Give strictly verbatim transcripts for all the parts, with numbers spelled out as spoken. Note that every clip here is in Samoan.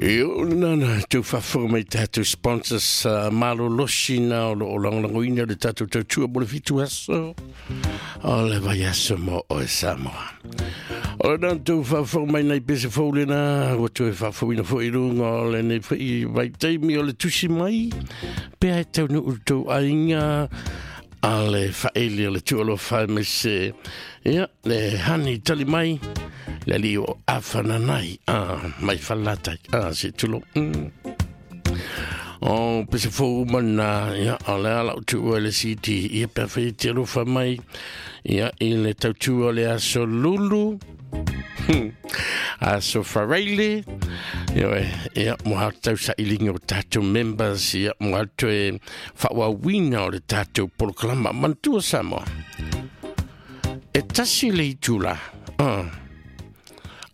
Io nana tau faafofoga mai tatou sponsors uh, malolosi na o loo lagolagoina le tatou tautua mo le fitu aso o le vaiaso mo oe Samoa. O le nana tau faafofoga mai nai pese fou lena ua toe faafouina foi i luga o lenei foi vaitaimi o le tusi mai pea e taunuu tou aiga a le faaele o le tuualofa mai se ia le hani tali mai le alii o afananai a mai falatai a se tulo mm. O pese fou mana ia o le ala o tuua le C D ia pe fai te alofa mai ia i le tautua o le aso lulu aso faraile ia ia mo ha tau sailiga o tatou members ia mo ha toe faauauina o le tatou polokalama manatua Samoa e tasi le itula ah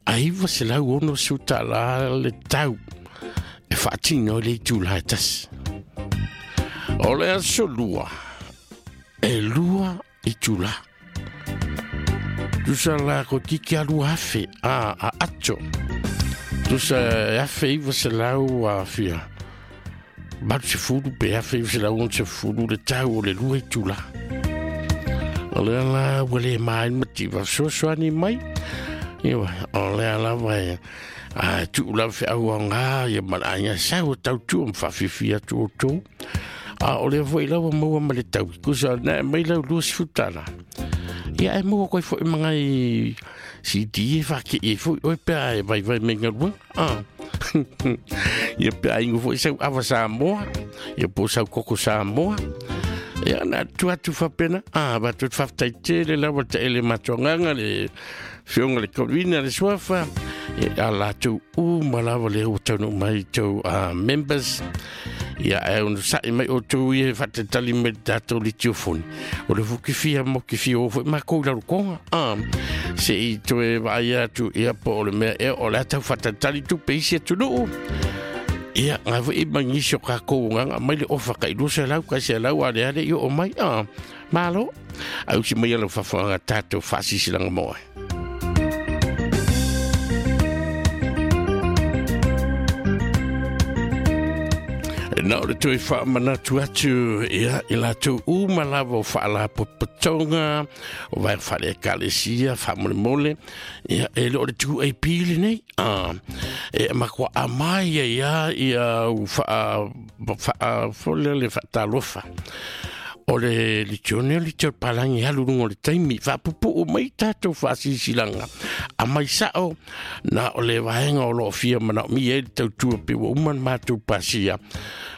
aiva se lau ono su tālā le tau e faatino le itula e tasi. O le aso lua, e lua itula. Tusa la ko tiki alu afe a, a ato. Tusa e afe iwa se lau a fia. Balu se fulu pe afe iwa se lau on se fulu le tau o le lua itula. O le ala ua le mai mativa soasoani mai. Ia, o lea lava e a tuu lava feau aoga ia ma le aiga sau e tautua ma faafifia atu outou. A o lea foi lava maua ma le tau. Kusa na e mai lau lua sifu tala. Ia e maua koe foi mangai C D e whake e foi oe pea e vai vai me ngalua. Ah. Ia pea ingo foi sau ava Samoa. Ia po sau koko Samoa. Ia na tu atu whapena. Ah, ba tu whaftai tele lawa te ele matuanganga le fionga le korina le suafa. Ia a lātou uma lava le ua taunu mai tau uh, members. Ia e ono sa'i mai o tau ia whatetali mai tātou li tiofoni. O le fuki fia mo ki fia o foi mākou i laro konga. Ah, se i toe vaai atu ia po o le mea e o le atau whatetali tu peisi atu nuu. Ia, ngā foi i mangisi o kākou nganga mai le ofa ka i lua se lau ka se lau a le ale i o mai. Ah, malo. Au si mai ala whawhanga tātou whaasisilanga moe. Na o le toe faamanatu atu ia i latou uma lava o faalapotopotoga o vaega faale-ekalesia faamolemole ia e le o le two A P lenei a e makoa amai ai a ia u faa faa fole le faatalofa o le litione o litio palangi alu luga o le taimi faapupuu mai tatou faasisilanga a mai sao na o le vaega o loo fia manaomia ai le tautua pe ua uma na matou pasia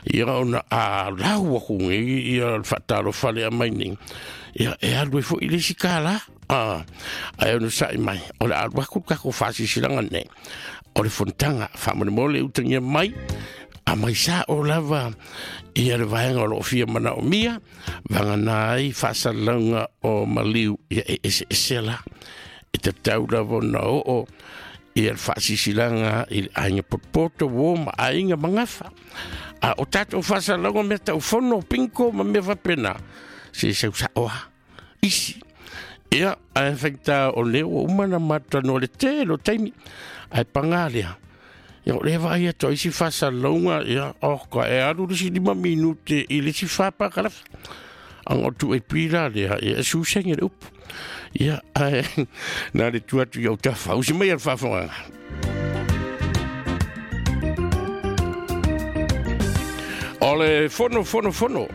ia ona a lau aku nei ia le faatalofa lea mai nei ia e alu ai foi i le isi kālā a ae ono sa'i mai o le alu aku le kako faasisilanga nei o le fonotaga faamolemole utagia mai a mai sa'o lava ia le vaega o loo fia manaomia vagana ai faasalalauga o maliu ia e eseese la e tatau lava ona oo ia le faasisilaga i le aiga potopoto uō ma aiga magafa a o tatou faasalalauga mea taufono pinko ma mea faapena se sau sa'o a isi ia ae faigata o lea ua uma na matanoa le tele o taimi ae pagā lea ia o lea vaai atu ai isi faasalalauga ia oh ka e alu le isi lima minute i le isi fa pakalafa aga o tu e pila lea ia e susenge le upu ia ae na le tu atu i au tafa usi mai a le faafogaga. O le fono fono fono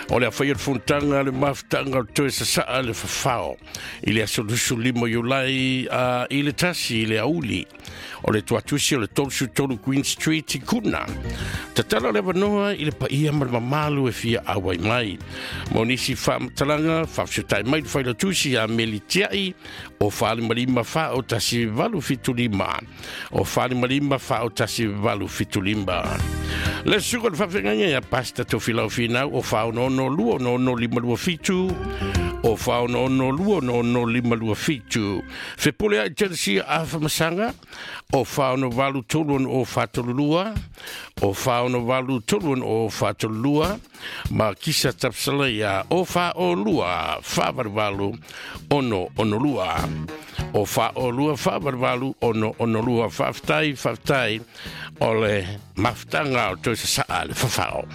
o le awhai o le fonotaga le mafutaga o le toe sasaa le fafao i le aso lusulima Iulai uh, i le tasi i le auli o le tuatusi o le tolu tolu Queen Street i Kuna. Tatala le avanoa i le paia ma le mamalu e fia auai mai. Mo nisi faamatalaga faafesotai mai le failatusi a Melitiai o falimalima fa o tasi valu fitu lima. O falimalima fa o tasi valu fitu lima. Le suka le faafeagaiga ia Pasta Tofilau Finau o fa ono ono lua ono ono lima lua fitu o fa ono ono lua ono ono lima lua fitu. Fepule ai Chelsea a Whamasaga o fa ono valu tolu ono o fa tolu lua o fa ono valu tolu ono o fa tolu lua ma Kisa Tapsala ia o fa o lua fa valu valu ono ono lua. o fa o lua fa valu ono ono lua. Faafetai, faafetai o le mafutaga o toe sasaa le fafao.